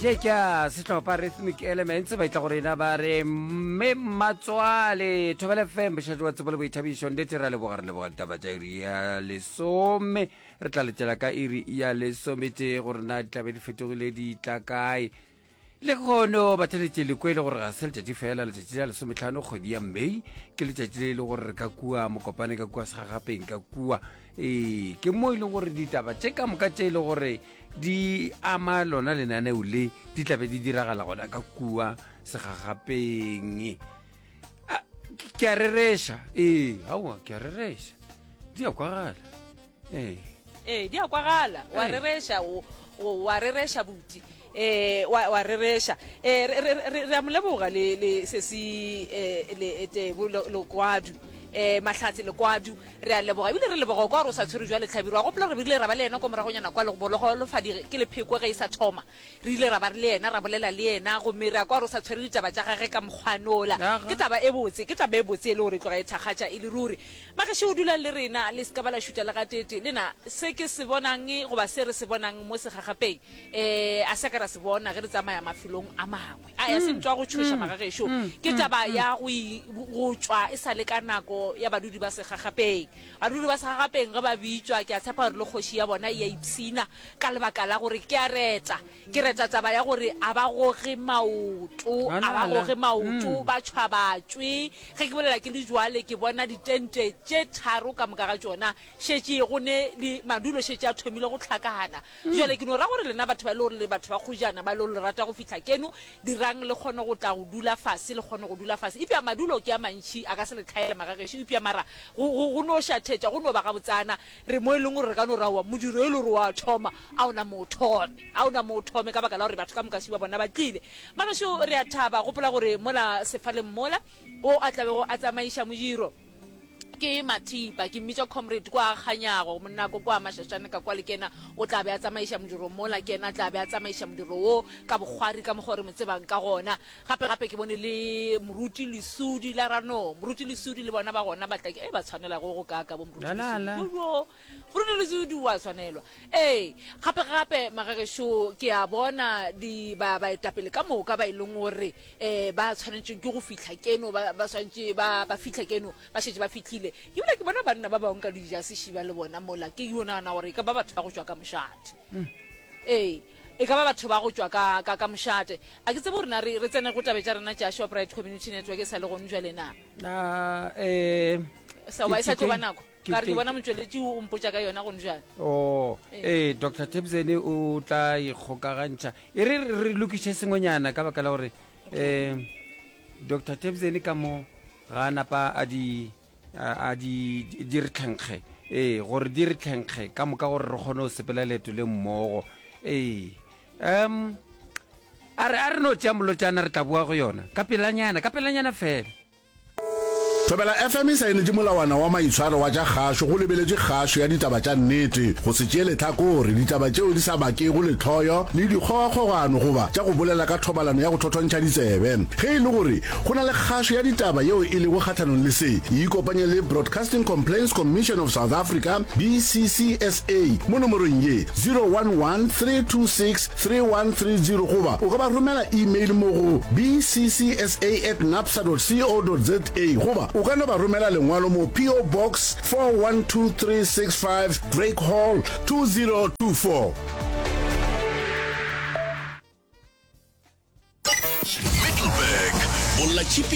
Še ke a sehlopha Rhythmic Elements ba itla go rena ba re mme mmatswale Thobela FM bošate wa tsebo le boithabišo nnete ra leboga re leboga ditaba tša iri ya lesome re tla letela ka iri ya lesometee gore na di tlabe di fetogile di tla kae Lehono batheletše le kwele gore ga se letšatši fela, letšatši la lesometlhano kgwedi ya May ke letšatši le e le gore re ka kua Mokopane ka kua Segagapeng ka kua. Ee, ke mo e leng gore ditaba tše ka moka tše e le gore di ama lona lenaneo le di tlabe di diragala gona ka kua Segagapeng. Ke a rereša, ee, aowa ke a rereša, di a kwagala. Ee. Ee, di a kwagala. Wa rereša, o, o, wa rereša, buti. Ee, wa, wa rereša. Ee, re, re, re, re a mo leboga le, le sesi, eh, le Tebo Lekwadu. Ee, Mahlatse Lekwadu, re a leboga. Ebile re leboga kwa gore o sa tshwere jwale Hlabirwa. Gopola gore re ile ra ba le yena ko moragonyana kwa Bologolofadi ke lepheko ge e sa thoma. Re ile ra ba re le yena, ra bolela le yena, gomme ra kwa gore o sa tshwere ditaba tša gage ka mokgwanola. Ke taba e botse, ke taba e botse e le gore e tloga e thakgatša e le ruri. Magešo, dulang le rena, le se ka ba la šutha le gateetee. Le na, se ke se bonang, goba se re se bonang mo segagapeng, e, a se ka ra se bona ge re tsamaya mafelong a mangwe. A ya se ntwa go tšhoša, magagešo. Ke taba ya go, go tšwa e sa le ka nako ya badudi ba segagapeng. Badudi ba segagapeng ge ba bitšwa, ke a tshepa gore le kgoši ya bona e a ipshina ka lebaka la gore ke a reta. Ke reta taba ya gore a ba goge maoto, a ba goge maoto, ba tšhwa ba tšwe. Ge ke bolela ke le jwale, ke bona ditente tše tharo ka moka ga tšona šetše go ne le madulo šetše a thomile go hlakana. Jwale ke no ra gore lena batho ba e le gore le batho ba kgojana, ba e le gore le rata go fihla keno, dirang le kgone go tla go dula fase, le kgone go dula fase. Eupša madulo ke a mantši, a ka se le hlaele magagešo, eupša mara go, go, go no šathetša, go no ba gabotsana. Re mo e leng gore re ka no ra oa modiro e le gore wa thoma, a o na mo o thome, a o na mo o thome ka baka la gore batho ka moka šiba bona ba tlile. Magešo re a thaba, gopola gore mola sefaleng mola, o a tla bego a tsamaiša modiro ke Mathipa, ke mmitša Comrade kwa a kganyago, monnako kwa Mašašane ka kwa le kena o tla be a tsamaiša modiro mola, ke yena a tla be a tsamaiša modiro wo ka bokgwari ka mokgwa o re mo tsebang ka gona. Gape gape ke bone le Moruti Lesudi la Rano, Moruti Lesudi le bona ba gona ba tla ke, e ba tshwanela go go kaaka bo Moruti Lesudi. Jo jo, Moruti Lesudi wa tshwanelwa. Ee, gape gape magagešo ke a bona di ba baetapele ka moka ba e leng gore eh ba tshwanetšeng ke go fihla keno ba ba swantše ba ba fihla keno ba šetše ba fihlile. Ebile ke bona banna ba bangwe ka dijase šiba le bona mola ke yo nagana gore e ka ba batho ba go tšwa ka mošate. Ee, e ka ba batho ba go tšwa ka, ka, ka mošate. A ke tsebe gore na re, re tsene go tabe tša rena tša Shoprite Community Network e sa le gone jwale na. Na, eh, Sa, goba e sa tlo ba nako? Ka re ke bona motšweletši o mpotša ka yona gone jwale. Oh, ee, Doctor Thebzene o tla ikgokagantšha. E re re lokiše sengwenyana ka baka la gore, eh, Doctor Thebzene ka mo ga a napa a di a di di re tlhenkge ee gore di re tlhenkge ka moka gore re kgone go sepela leeto le mmogo ee um a re a re no tšea molotšana re tla boa go yona ka pelanyana ka pelanyana fela Thobela FM e saenetše molawana wa maitshwaro wa tša kgašo go lebeletše kgašo ya ditaba tša nnete, go se tšee lehlakore, ditaba tšeo di sa bakego lehloyo le dikgogakgogano goba tša go bolela ka thobalano ya go thothontšha ditsebe. Ge e le gore Go na le kgašo ya ditaba yeo e lego kgahlanong le se. Ikopanye le Broadcasting Complaints Commission of South Africa, BCCSA, mo nomorong ye, 011 326 3130 goba o ka ba romela email mo go bccsa at napsa dot co dot za goba o ka no ba romela lengwalo mo PO Box 412365 Drake Hall 2024. Middelburg, Bollatšhipi.